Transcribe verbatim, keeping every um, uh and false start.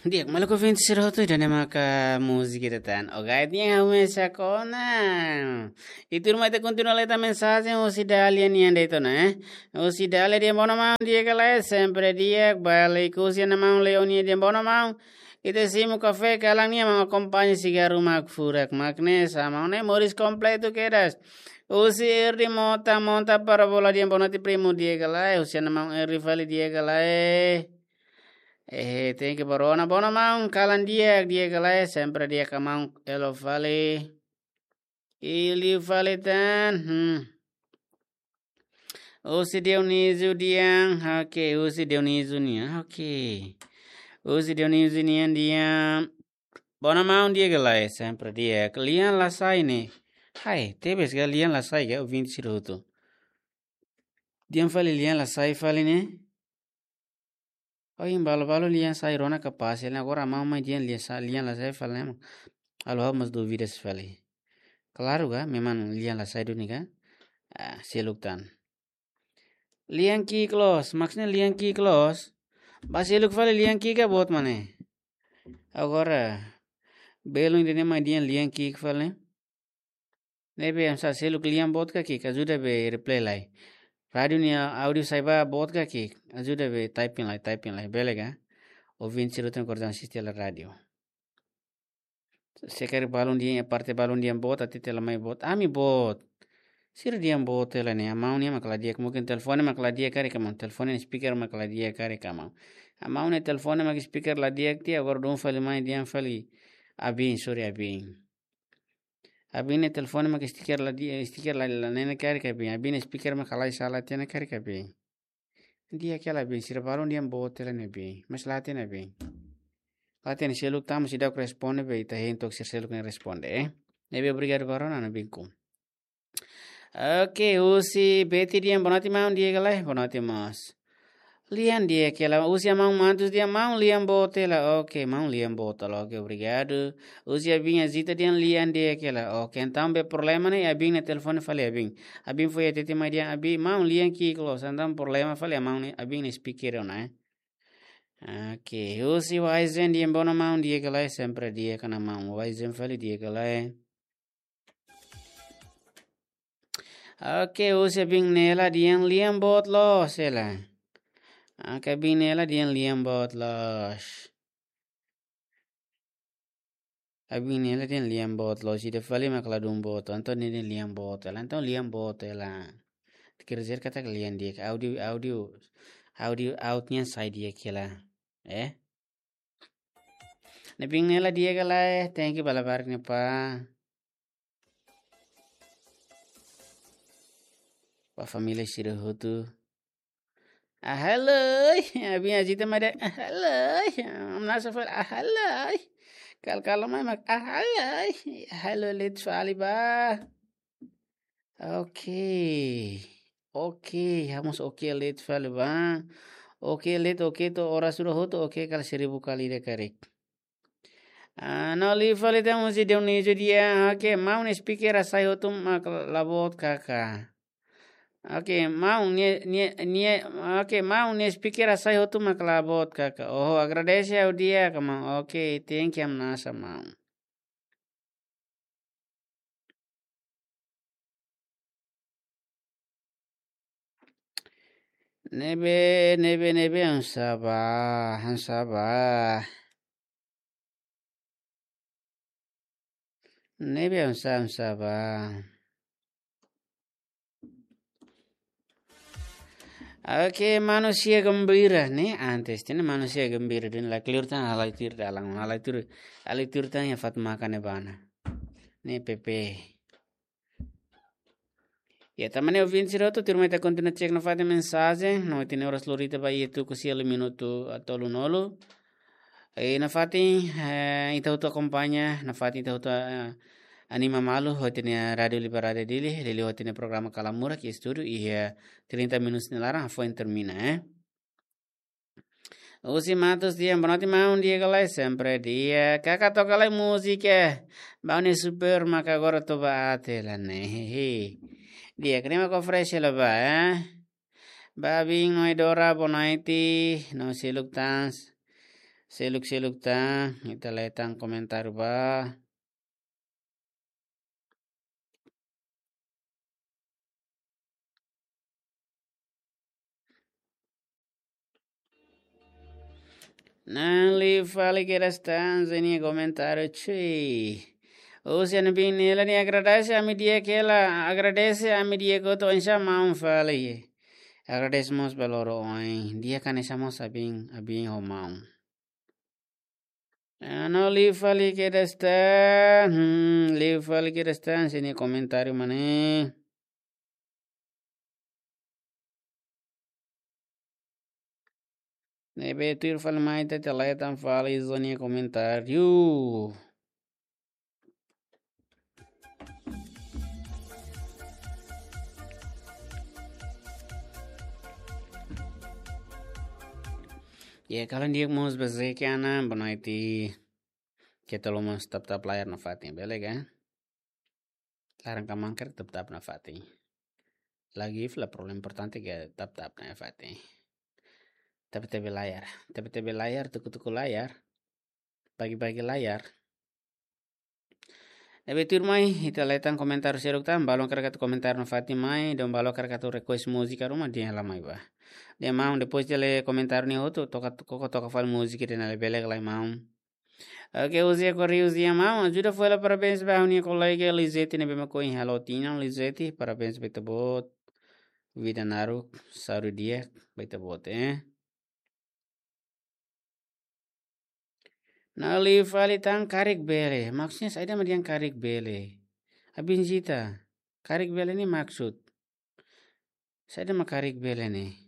Di'ak, maluk ouvinte sira hotu, ida-ne'e maka múzika ida tan. Oke, nia ha'u mesak ona. I tuirmai ita kontinua lee tan mensajen husi Dália nian de'it ona, eh. Husi Dália dehan: "Bono maun, di'ak ka lae?" "Sempre di'ak." Balik husi Ana Maun Leonia dehan: "Bono maun, ita simu kafé kalan nian, maun akompaña sigarru mak furak mak ne'e, sa maun ne'e moris kompletu kedas." Husi Erdi Mota, Mota Parabola dehan: "Boa noite, primu, di'ak ka lae?" Husi Ana Maun Erdi fali: "Di'ak ka lae?" Eh, thank you, bro. Ana, bono maun, kalan di'ak, di'ak ka lae? Sempre di'ak, Ana Maun Elo fali. Ili fali tan. Hmm. Husi Dionísio dehan, oke, husi Dionísio nian, oke. Husi Dionísio nian dehan: "Bono maun, di'ak ka lae?" "Sempre di'ak." "Lian la sai ne'e?" Hai, tebes ka lian la sai ka, ouvinte sira hotu? Dehan fali lian la sai fali ne'e. Oh, imi balu-balu lian sai rona kapás, ne'e agora maun mai dehan lian sa-, lian la sai fali ne'e. Halo ha'u mós dúvidas fali. Klaru ka, memang lian la sai duni ka? Ah, seluk tan. Lian ki'ik loos, maksudnya lian ki'ik loos. Ba seluk fali lian ki'ik ka boot mak ne'e. Agora, belun ida-ne'e mai dehan lian ki'ik fali ne'e. Ne'ebé oinsá, seluk lian boot ka ki'ik, ajuda be reply lai. Rádiu nia áudiu sai ba boot ka ki'ik, ajuda be typing lai, typing lai, bele ka? Ouvinte sira hotu ne'ebé asiste hela rádiu. Se karik balun dehan, parte balun dehan boot, hatete hela mai boot. Ami boot. Sira dehan boot hela ne'e, Ana Maun nian mak la di'ak, mungkin telefone mak la di'ak karik, Ana Maun. Telefone speaker mak la di'ak karik, Ana Maun. Ana Maun nia telefone mak speaker la di'ak tiha, agora dun fali mai dehan fali abin, sorry abin. Abin nia telefone mak speaker la di, speaker la, la nene karik abin. Abin nia speaker mak halai sala tiha ona karik abin. Di'ak ka lae abin, sira balun dehan boot hela ne'e abin. Mas la hatene abin. La hatene, seluk tan mós seidauk responde be ita hein took sira seluk ne'e responde, eh. Ne'ebé obrigadu ba rona, Ana Maun, binku. Oke, husi Betty dehan: "Boa noite maun, di'ak ka lae?" "Boa noite mós." "Lian di'ak ka lae?" Husi Ana Maun Mantus dehan: "Maun, lian boot hela." "Oke, maun, lian boot hela." "Oke, obrigadu." Husi abin Azita dehan: "Lian di'ak ka lae?" "Oke." Entaun be problema ne'e abin nia telefone fali abin. Abin foin hatete mai dehan abin: "Maun, lian ki'ik loos." Entaun problema fali Ana Maun nia, abin nia speaker ona, eh. Oke, husi Waizen dehan: "Bono maun, di'ak ka lae?" "Sempre di'ak, Ana Maun." Waizen fali: "Di'ak ka lae?" Oke, husi abin Nela dehan: "Lian boot loos hela." Oke, abin Nela dehan: "Lian boot loos." Abin Nela dehan: "Lian boot loos." Ida fali mak la dún boot, entaun nia dehan lian boot hela. Entaun lian boot hela. Quer dizer katak lian di'ak, áudiu, áudiu, áudiu out nian sai di'ak hela. Eh? Ne'ebé Nela, di'ak ka lae? Thank you ba labarik ne'e, pá. Ba família sira hotu. Ah, halo. Abin Azita mai dehan: "Ah, halo." Hamnasa fali: "Ah, halo." Kal-, kala mai mak: "Ah, halo." Halo, leet fali ba. Oke. Oke, ha'u mós oke, leet fali ba. Oke, leet, oke to'o oras ida hotu, oke kala seribu kali ida karik. Ah, no, liu fali tan husi Dionísio dehan: "Oke, maun nia speaker hasai hotu mak la boot kaka." Oke, maun nia, nia, nia, oke, maun nia speaker hasai hotu mak la boot kaka. Oh, agradese ha'u di'ak ka maun. Oke, thank you, hamnasa maun. Ne'ebé, ne'ebé, ne'ebé, hamnasa ba, hamnasa ba. Ne'ebé hamnasa, hamnasa ba. Oke, manusia gembira ne'e, antes ne'e manusia gembira duni, la kleur tan, halai tuir dalan, halai tuir, halai tuir tan iha fatin makan ne'ebá ona. Ne'e Pepe. Ya, tanba ne'e ouvinte sira hotu, tuirmai ita kontinua cek nafatin mensajen, no ita-nia oras lorita ba iha tuku sia liu minutu tolunulu. I nafatin, eh, ita hotu akompaña, nafatin ita hotu, eh, anima malu ho ita-nia Rádiu Liberdade Dili, liuliu ho ita-nia programa Kalamurak iha estúdiu, iha trinta minutos nia laran, foin termina, eh. Husi Matus dehan: "Boa noite maun, di'ak ka lae?" "Sempre di'ak." "Kaka toka lai múzika Baune Super maka agora toba até la ne'e." Di'ak, ne'e mak oferese hela ba, eh. Ba abin Noidora, boa noite, no seluk tan. Seluk-seluk tan, ita lee tan komentáriu ba. Na'in-lima fali kedas tan, husi nia komentáriu, cui. Husi nia bin ne'e, nia agradese ami-nia kela, agradese ami-nia koto, insya maun fali. Agradese mós ba loro oin, di'ak hanesan mós ami, ami ho maun. Ah, no, liu fali kedas tan. Hmm, liu fali kedas tan, husi nia komentáriu mak ne'e. Ne'ebé tuir fali mai ita lee tan fali husi nia komentáriu. Ya, kalan di'ak mós ba Zeki Anan, boa noite. Keta haluha mós tap-tap layar nafatin, bele ka? Laran ka mankrek tap-tap nafatin. Lagi fila problema importante ke tap-tap nafatin. Tebe-tebe layar, tebe-tebe layar, tuku-tuku layar, bagi-bagi layar. Ne'ebé tuir mai, ita lee tan komentáriu seluk tan, balu hakarak atu komentáriu nafatin mai, dehan balu hakarak atu request múzika ruma dehan la mai ba. Dehan maun, depois de lee komentáriu ne'e hotu, toka, koko toka fali múzika dehan labele ka lae maun. Oke, José Correios dehan maun, ajuda fó hela parabéns ba ha'u-nia kolega Lizete ne'ebé mak ohin halo tinan, Lizete, parabéns ba ita-boot. Vida naruk, saúde di'ak ba ita-boot, eh. No liu fali tan karik bele. Maksudnya saida mak dehan karik bele? Abin Zita, karik bele ne'e maksud saida mak karik bele ne'e?